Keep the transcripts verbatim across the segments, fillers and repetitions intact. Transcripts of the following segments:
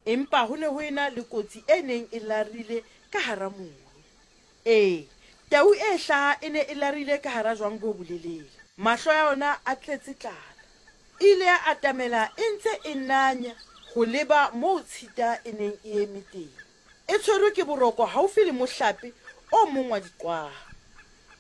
Empa ho ne ho ena le kotsi e neng e larile ka hara moru. Ee, tau e hlaha e ne e larile ka hara jwang bo bolelele, mahlo a yona a tletse tlala. E ile ya atamela e ntse e nanya ho leba moo tshita e neng e eme teng, e tshwerwe ke boroko haufi le mohlape o mong wa diqwaha.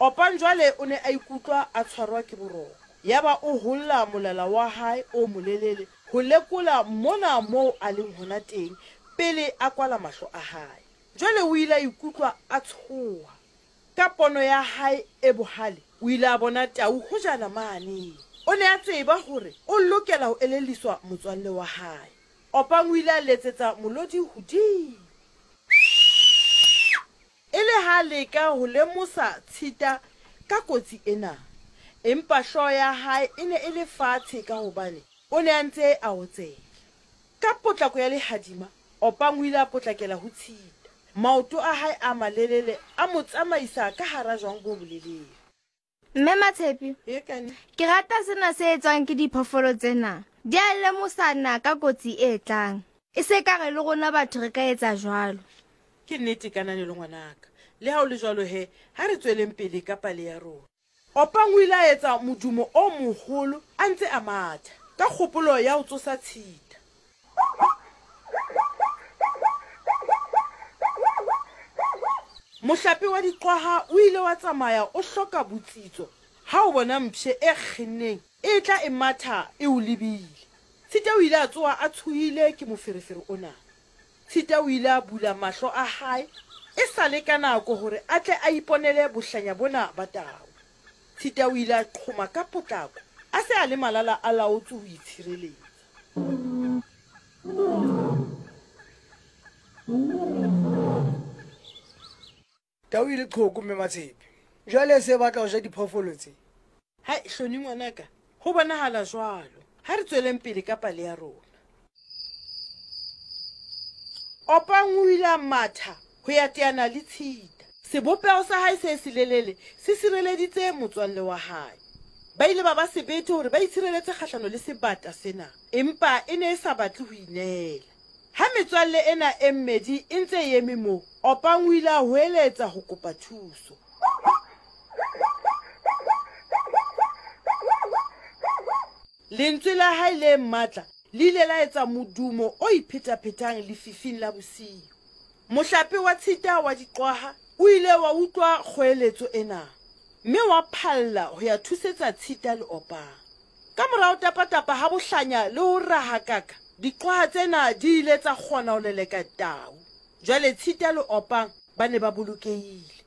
Opang jwale o ne a ikutlwa a tshwarwa ke boroko, yaba o holla molala wa hae o molelele ho lekola mona moo a leng hona teng pele a kwala mahlo a hae. Jwale o ile a ikutlwa a tshoha. Ka pono ya hae e bohale, o ile a bona tau hojana mane. O ne a tseba hore o lokela ho elelliswa motswalle wa hae. Opang o ile a letsetsa molodi hodimo, e le ha a leka ho lemosa tshita ka kotsi ena. Empa hlooho ya hae e ne e le fatshe ka hobane o ne a ntse a otsela. Ka potlako ya lehadima, Opang o ile a potlakela ho tshita. Maoto a hae a malelele a mo tsamaisa ka hara jwang bo bolelele. Mme Matshepi, E kane. ke rata sena se etswang ke diphoofolo tsena. Di a lemosana ka kotsi e tlang. E se ka re le rona batho re ka etsa jwalo. Ke nnete Kananelo ngwanaka. Le ha o le jwalo he, ha re tsweleng pele ka pale ya rona. Opang o ile a etsa modumo o moholo a ntse a matha, ka kgopolo ya ho tsosa tshita. Mohlape wa diqwaha o ile wa tsamaya o hloka botsitso ha o bona mpshe e kgenneng e tla e matha e o lebile. Tshita o ile a tsoha a tshohile ke moferefere ona. Tshita o ile a bula mahlo a hae e sa le ka nako hore a tle a iponele bohlanya bona ba tau. Tshita o ile a qhoma ka potlako, a se a le malala a laotswe ho itshireletsa. Tau e le qhoko mme Matshepe. Jwale se batla ho ja diphoofolo tse. Hai, Hloni ngwanaka, ho bonahala jwalo. Ha re tsweleng pele ka pale ya rona. Opang o ile a matha ho ya teana le tshita. Sebopeho sa hae se selelele se sireleditse motswalle wa hae. Ba ile ba ba sebete hore ba itshireletse kgahlano le sebata sena, empa e ne e sa batle ho ineela. Ha metswalle ena e mmedi e ntse e eme moo, Opang o ile a hoeletsa ho kopa thuso. Lentswe la hae le matla le ile la etsa modumo o iphetaphetang lefifing la bosiu. Mohlape wa tshita wa diqwaha o ile wa utlwa kgoeletso ena, mme wa phalla ho ya thusetsa tshita le Opang. Ka morao tapatapa ha bohlanya le ho rahakaka, diqwaha tsena di ile tsa kgona ho leleka tau. Jwale tshita le Opang ba ne ba bolokehile.